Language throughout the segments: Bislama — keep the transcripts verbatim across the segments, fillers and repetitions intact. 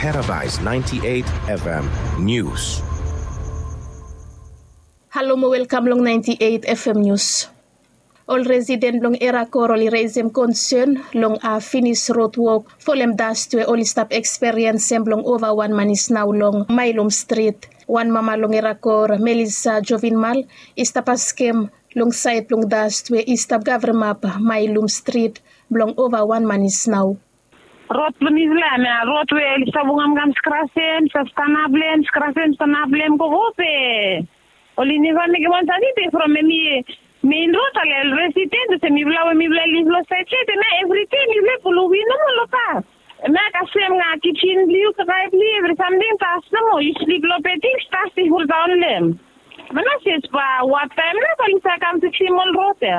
Paradise ninety-eight F M News. Halo mo welkam long ninety-eight F M News. Ol residen blong Erakor oli resem konsen long a finis rod wok folem dast we oli stap eksperiensem blong ova wan manis nao long Mailum Strit. Wan mama long Erakor, Melisa Jovinmal, i stap askem long saed blong dast we i stap gavremap Mailum Strit blong ova wan manis nao. Rod blong mifala ya, rod we oli stap wok kamkam skrasem, stap stanap long hem, skrasem, stanap long hem, gogo pe oli neva mekem wan sani be from hemi mein rod ale ol resident olsem mifala we mifala liv long saed ya, hemia evri dei mifala pulu win nomo long tas. Hemia kasem nao kisen blong yu, kakae blong yu, evri samting tas nomo, yu slip long beding, tas i fuldaon long hem. Manases ba wattaem nao oli save kam fiksim ol rod ya.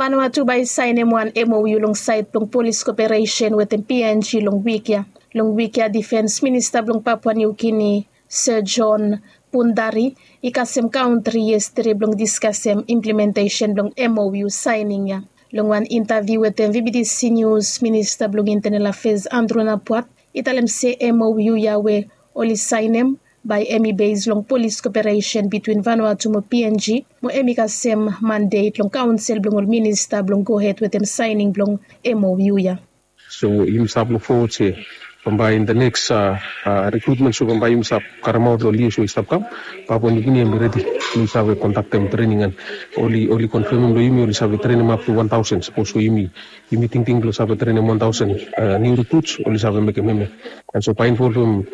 Vanuatu bae i saenem wan M O U long saed blong polis koperesen wetem P N G long wik ya. Long wik ya, difens minista blong Papua New Guinea, Sir John Pundari, i kasem kantri yestede blong diskasem implementesen blong M O U saening ya. Long wan intaviu wetem V B T C News, minista blong intenel afeas Andrew Napuat i talem se M O U ya we oli saenem bae hemi bes long polis koperesen bitwin Vanuatu mo P N G, mo hemi kasem mandet long kaonsel blong ol minista blong gohed wetem saening blong M O U ya. So yumi stap luk fowod se bambae in the next rekrutmen, so bambae yumi stap karemaot long lios we i stap kam, Papua New Guinea hemi redi blong i save kondaktem trening, and oli oli konfemem long yumi oli save trenem up to wan taosen. Sapos we yumi yumi tingting blong save trenem wan taosen niu rekruts, oli save mekem hemia. And so bae involvem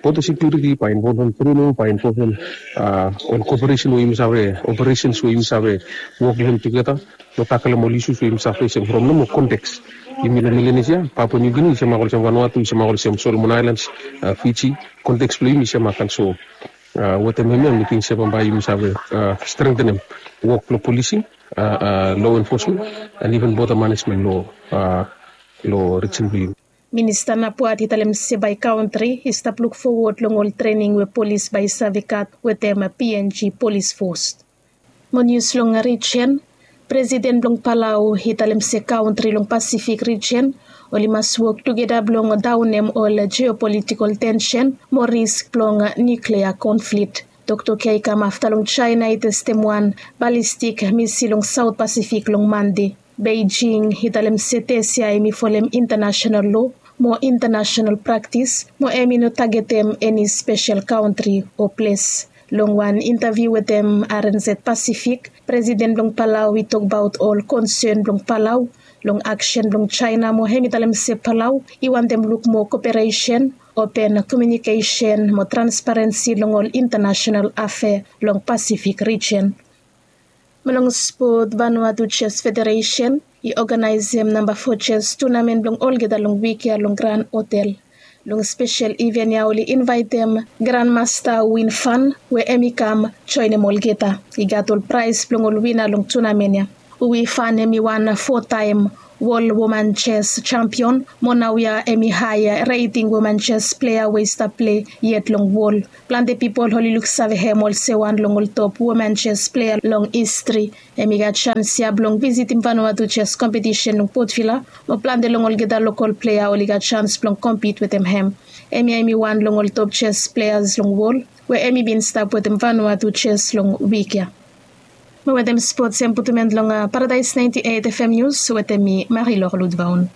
boda sekiuriti, bae involvem trening, bae involvem ol koperesen we yumi save, operesens we yumi save wok long hem tugeta blong takelem ol isus we yumi save fesem from nomo konteks. Yumi long Melanesia, Papua New Guinea i semak olsem Vanuatu, i semak olsem Solomon Islands, Fiji. Konteks blong yumi i semak. And so wetem hemia mi ting se bambae yumi save strengtenem wok blong polising, law enforcement, and even border management long region blong yumi. Minista Napuat i talem se bae kantri i stap luk fowod long ol trening we polis bae i save gat wetem P N G polis fos. Mo nius long rijen, presiden blong Palau i talem se kantri long Pasifik rijen oli mas wok tugeta blong daonem ol jeopolitikol tensen mo risk blong nuklea konflik. Toktok ya i kam afta long Jaena i testem wan balistik misil long Saot Pasifik long Mande. Beijing i talem se tes ya hemi folem intanasenal loa mo intanasenal praktis mo hemi no tagetem eni spesel kantri o ples. Long wan intaviu wetem R N Z Pasifik, presiden blong Palau i tokbaot ol konsen blong Palau long aksen blong Jaena mo hemi talem se Palau i wantem luk moa koperesen, open komiunikesen mo transparensi long ol intanasenal afea long Pasifik rijen. Mo long spot, Vanuatu Jes Federesen i oganaesem namba fo jes tunamen blong olgeta long wik ya long Gran Hotel. Long spesel iven ya oli invaetem Granmasta Win Fan we hemi kam joenem olgeta. I gat ol praes blong ol wina long tunamen ya. Wi Fan hemi wan fotaem wol woman jes jampion mo naoia hemi hae reting woman jes plea we i stap plei yet long wol. Plante pipol oli luksave hem olsem wan long ol top woman jes plea long histri. Hemi gat jans ya blong visitim Vanuatu jes kompetisen long Port Vila mo plante long olgeta lokol plea oli gat jans blong kompit wetem hem. Hemia hemi wan long ol top jes pleas long wol we hemi bin stap wetem Vanuatu jes long wik ya. Mo wetem spots hem putum en long Paradise ninety-eight F M News wetem mi, Marie-Laure Ludvaun.